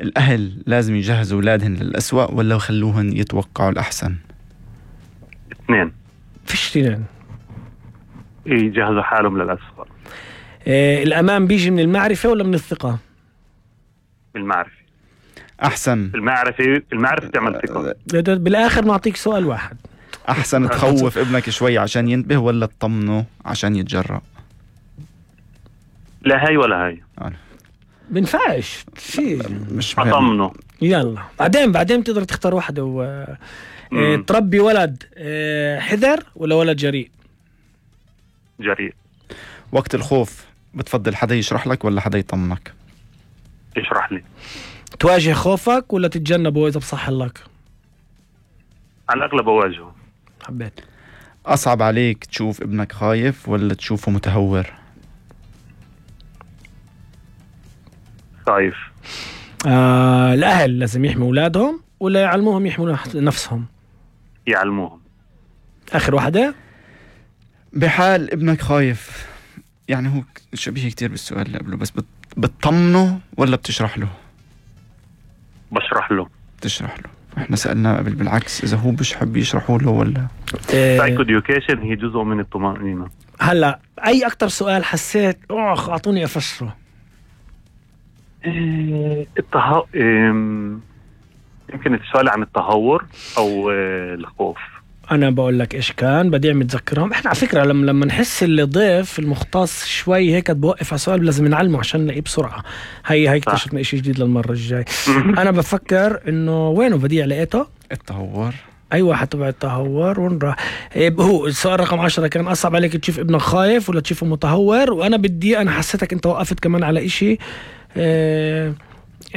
الأهل لازم يجهزوا أولادهن للأسوأ ولا يخلوهن يتوقعوا الأحسن؟ اثنين. فيش اثنين. يجهزوا حالهم للأسوأ. الأمان بيجي من المعرفة ولا من الثقة؟ بالمعرفة. أحسن. المعرفة تعمل ثقة. بالآخر نعطيك سؤال واحد. أحسن تخوف ابنك شوي عشان ينتبه ولا تطمنه عشان يتجرأ؟ لا هاي ولا هاي. بنفعش شيء. مش أطمنه. يلا بعدين تقدر تختار واحدة تربي ولد حذر ولا ولد جريء؟ جريء. وقت الخوف بتفضل حدا يشرح لك ولا حدا يطمنك؟ يشرح لي. تواجه خوفك ولا تتجنبه إذا بصح لك؟ على الأغلب أواجهه. حبيت. أصعب عليك تشوف ابنك خايف ولا تشوفه متهور؟ خايف. الأهل لازم يحموا أولادهم ولا يعلموهم يحموا نفسهم؟ يعلموهم. آخر واحدة. بحال ابنك خايف، يعني هو شبيه كتير بالسؤال اللي قبله، بس بتطمنه ولا بتشرح له؟ بشرح له. تشرح له. احنا سألنا قبل بالعكس إذا هو بيحب يشرحوا له ولا. Psycho education هي جزء من الطمأنينة. هلا أي أكتر سؤال حسيت أعطوني أفسره؟ يمكن السؤال عن التهور أو الخوف. أنا بقول لك إيش كان بديع متذكرهم. إحنا على فكرة لما نحس اللي ضيف المختص شوي هيك بوقف على سؤال لازم نعلمه عشان نلاقيه بسرعة. هي اكتشفنا إشي جديد للمرة الجاي. أنا بفكر إنه وينه بديع لقيته؟ التهور. أيوة حتبع التهور. وين راح؟ هو السؤال رقم 10 كان أصعب عليك تشوف ابنك خايف ولا تشوفه متهور؟ وأنا أنا حسيتك أنت وقفت كمان على إشي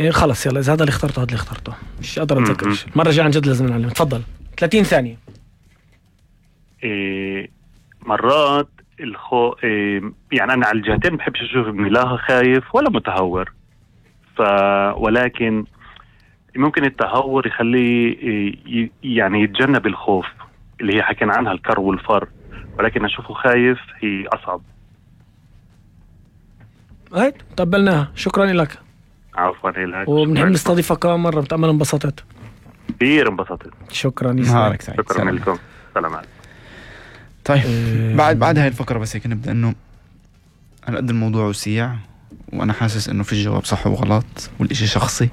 خلص يلا إذا هذا اللي اخترته هذا اللي اخترته مش قادر أتذكر إيش. المرة الجاية عن جد لازم نعلم. تفضل 30 ثانية. مرات يعني أنا على الجهتين بحبش أشوف ابني لا خايف ولا متهور، ولكن ممكن التهور يخليه يعني يتجنب الخوف اللي هي حكينا عنها الكر والفر، ولكن أشوفه خايف هي أصعب. هاي تقبلناها. شكرا لك. عفوا لك. وبنحب نستضيفك كمان مرة. بتأمل انبسطت كثير. انبسطت. شكرا. نهارك سعيد. شكرا لكم. سلام عليكم. طيب بعد هاي الفقرة بس هيك نبدأ إنه على قد الموضوع وسيع وأنا حاسس إنه في الجواب صح وغلط والإشي شخصي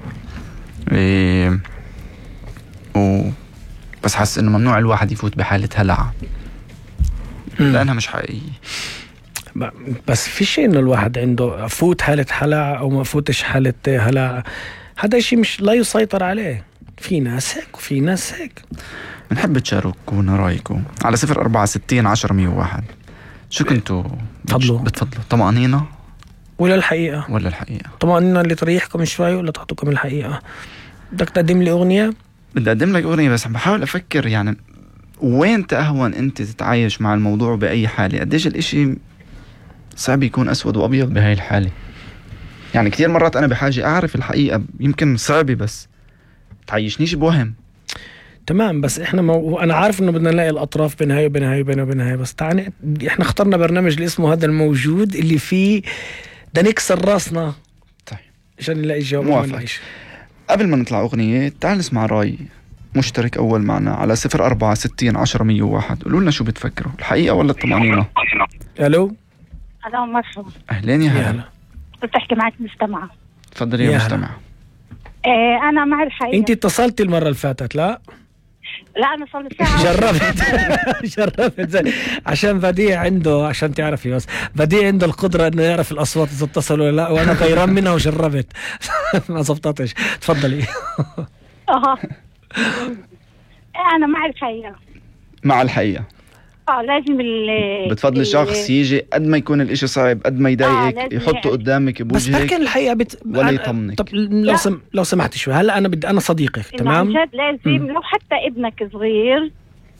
بس حاسس إنه ممنوع الواحد يفوت بحالة هلع لأنها مش حقيقية. بس في شيء إنه الواحد عنده فوت حالة هلع أو ما فوتش حالة هلع، هذا شيء مش لا يسيطر عليه. في ناس هيك وفي ناس هيك. بنحب تشاركونا رأيكم على 064601001. شو كنتوا بتفضلوا طمأنينة ولا الحقيقة؟ طمأنينة اللي تريحكم شوي ولا تعطوكم الحقيقة؟ بدك تقدم لي أغنية؟ بدي أقدم لك أغنية بس بحاول أفكر يعني وين تأهون أنت تتعايش مع الموضوع بأي حالة. قديش الإشي صعب يكون أسود وأبيض بهاي الحالة. يعني كتير مرات أنا بحاجة أعرف الحقيقة، يمكن صعبة بس تعيشنيش بوهم. تمام بس احنا انا عارف انه بدنا نلاقي الاطراف بين هاي وبين هاي وبين هاي، بس تعني احنا اخترنا برنامج اللي اسمه هذا الموجود اللي فيه ده نكسر راسنا طيب عشان نلاقي جواب. موافق. قبل ما نطلع اغنية تعال نسمع راي مشترك اول معنا على 064601001. قولوا لنا شو بتفكروا، الحقيقة ولا الطمأنينة؟ الو مرحبا. اهلين يا هلا. بتحكي معك مستمعة. تفضلي يا مستمعة. انا مع الحقيقة. انت اتصلتي المرة اللي فاتت؟ لا انا صار لي ساعة. جربت زي عشان بديع عنده، عشان تعرفي بس بديع عنده القدرة انه يعرف الاصوات اذا اتصلوا ولا لا، وانا غيران منها وجربت ما زبطتش. تفضلي. انا مع الحقيقة. مع الحقيقة. لازم بتفضل شخص يجي قد ما يكون الاشي صعب قد ما يضايقك يحطه قدامك بوجهك، بس لكن الحقيقة ولا يطمنك. طب لو سمحت شوي، هلا انا صديقك تمام. عن جد لازم لو حتى ابنك صغير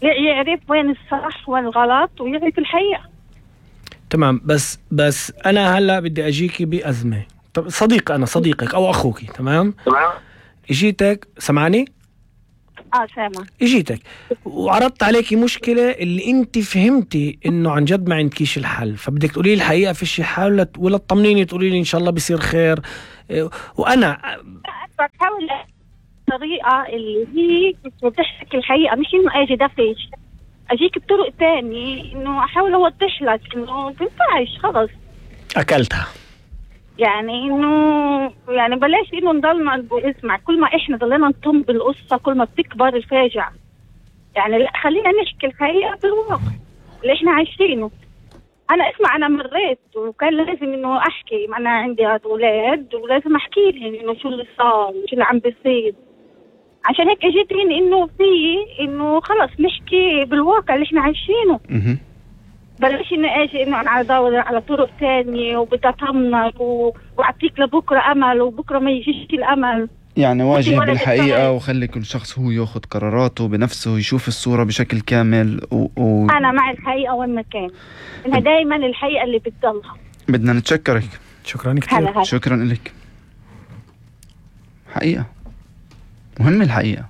يعرف وين الصح والغلط ويعرف الحقيقة. تمام بس انا هلا بدي اجيكي بأزمة. طب صديقك او اخوكي تمام. اجيتك سمعني. سامع. اجيتك وعرضت عليكي مشكلة اللي انت فهمتي انه عن جد ما عندكيش الحل، فبدك تقولي لي الحقيقة فيش حل ولا تطمنيني تقولي لي ان شاء الله بيصير خير. وانا الطريقة اللي هي بتحكي الحقيقة، مش إنه أجي دفش أجيك بطرق تاني إنه أحاول أوضح لك إنه بنفعش خلص أكلتها. يعني إنه يعني بلاش إنه نضلنا اسمع، كل ما إحنا ضلنا نطم بالقصة كل ما بتكبر الفاجعة. يعني لا، خلينا نحكي الحقيقة بالواقع اللي إحنا عايشينه. أنا اسمع، أنا مريت وكان لازم إنه أحكي، أنا عندي أولاد ولازم أحكي لهم إنه شو اللي صار وشو اللي عم بيصير. عشان هيك اجيت إنه إنه خلص نحكي بالواقع اللي إحنا عايشينه. بلاش إنه أجي إنه أنا أدور على طرق تانية وبدي أطمنك وأعطيك لبكرة أمل وبكرة ما يجيش الأمل. يعني واجه بالحقيقة وخلي كل شخص هو ياخذ قراراته بنفسه، يشوف الصورة بشكل كامل أنا مع الحقيقة والمكان، إنها دايما الحقيقة اللي بتضلها. بدنا نتشكرك. شكرا كثير. شكرا لك. حقيقة مهم الحقيقة.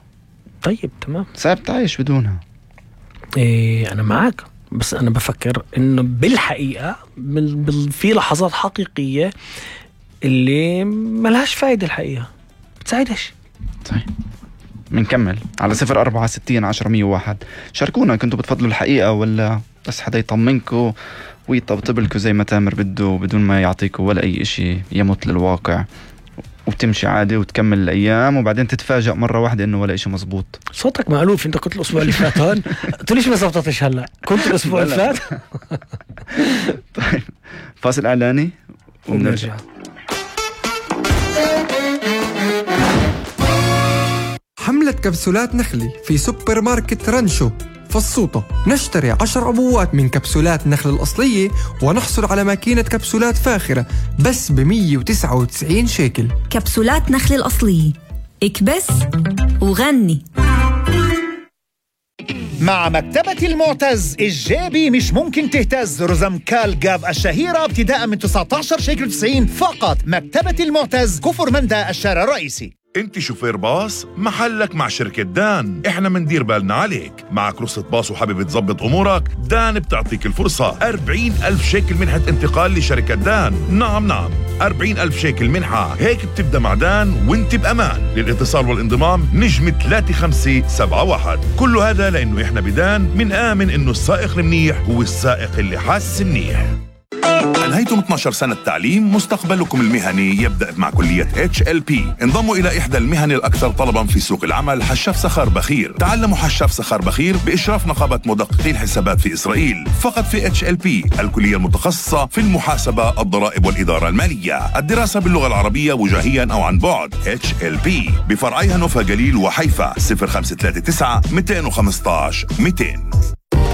طيب تمام، صعب تعيش بدونها. إيه أنا معك، بس أنا بفكر إنه بالحقيقة في لحظات حقيقية اللي ملهاش فايدة الحقيقة، بتساعدش. صحيح. منكمل على 0460 10 101. شاركونا، كنتوا بتفضلوا الحقيقة ولا بس حدا يطمنكوا ويطبطب لكم زي ما تامر بده بدون ما يعطيكوا ولا أي إشي يمت للواقع، وبتمشي عادي وتكمل الأيام وبعدين تتفاجأ مرة واحدة إنه ولا إشي مزبوط؟ صوتك مألوف. أنت كنت الأسبوع اللي فات هون تقوليش ما زبطتش هلا، كنت الأسبوع اللي فات. طيب فاصل إعلاني ونرجع. حملة كبسولات نخلي في سوبر ماركت رنشو فالصوطة. نشتري 10 عبوات من كبسولات نخل الأصلية ونحصل على ماكينة كبسولات فاخرة بس ب199 شيكل. كبسولات نخل الأصلية، اكبس وغني. مع مكتبة المعتز الجابي مش ممكن تهتز. رزم كالجاف الشهيرة ابتداء من 19 شيكل 90 فقط. مكتبة المعتز، كفر مندى، الشارع الرئيسي. انت شوفير باص، محلك مع شركة دان، احنا مندير بالنا عليك. معك رخصة باص وحابب تظبط امورك، دان بتعطيك الفرصة. 40,000 شيكل منحة انتقال لشركة دان. نعم 40,000 شيكل منحة، هيك بتبدأ مع دان وانت بأمان. للاتصال والانضمام نجم 3571. كل هذا لانه احنا بدان من آمن انه السائق المنيح هو السائق اللي حاسس منيح. أنهيتم 12 سنة تعليم، مستقبلكم المهني يبدأ مع كلية HLP. انضموا إلى إحدى المهن الأكثر طلبا في سوق العمل، حشاف سخار بخير. تعلموا حشاف سخار بخير بإشراف نقابة مدققي الحسابات في إسرائيل، فقط في HLP، الكلية المتخصصة في المحاسبة، الضرائب والإدارة المالية. الدراسة باللغة العربية وجاهيا أو عن بعد. HLP بفرعيها نوفا جليل وحيفا. 0539 215 200.